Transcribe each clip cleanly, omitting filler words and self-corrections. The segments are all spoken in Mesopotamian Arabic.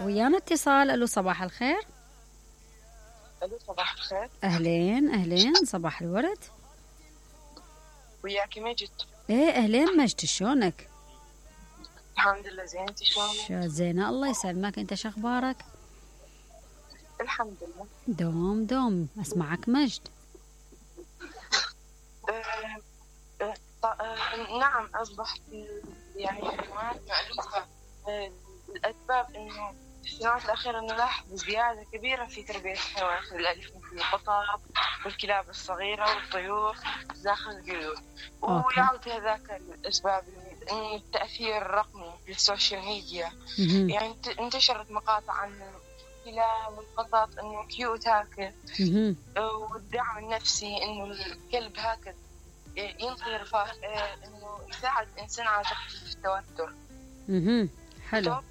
ويانا اتصال. الو صباح الخير. الو صباح الخير. اهلين اهلين صباح الورد. وياكي مجد. ايه اهلين مجد، شلونك؟ الحمد لله زين، انتي شلونك؟ زينة الله يسلمك، انت شخبارك؟ الحمد لله. دوم دوم اسمعك مجد. نعم اصبحت يعني حيوانات مألوفة. الاسباب انه في السنوات الاخيرة نلاحظ زيادة كبيرة في تربية الحيوانات الأليفة مثل القطط والكلاب الصغيرة والطيور داخل البيوت. ويعود هذاك الاسباب انه التأثير الرقمي للسوشيال ميديا. يعني انتشرت مقاطع عن الكلاب والقطط انه كيوت هكذا، والدعم النفسي انه الكلب هكذا ينطي رفاه، انه يساعد الانسان على تخفيف التوتر. حلو.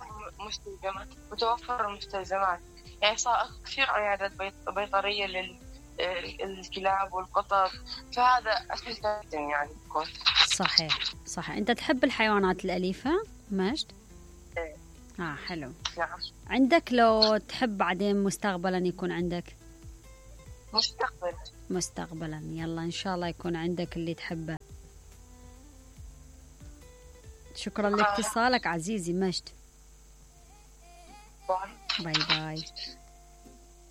وتوفر المستلزمات. يعني صار كثير عيادات بيطرية للكلاب والقطط، فهذا أسهل جدا يعني بكون. صحيح صحيح. انت تحب الحيوانات الأليفة مجد؟ ايه. حلو. نعم. عندك لو تحب بعدين مستقبلا يكون عندك؟ مستقبلا يلا ان شاء الله يكون عندك اللي تحبه. شكرا لاتصالك عزيزي مجد. باي باي باي.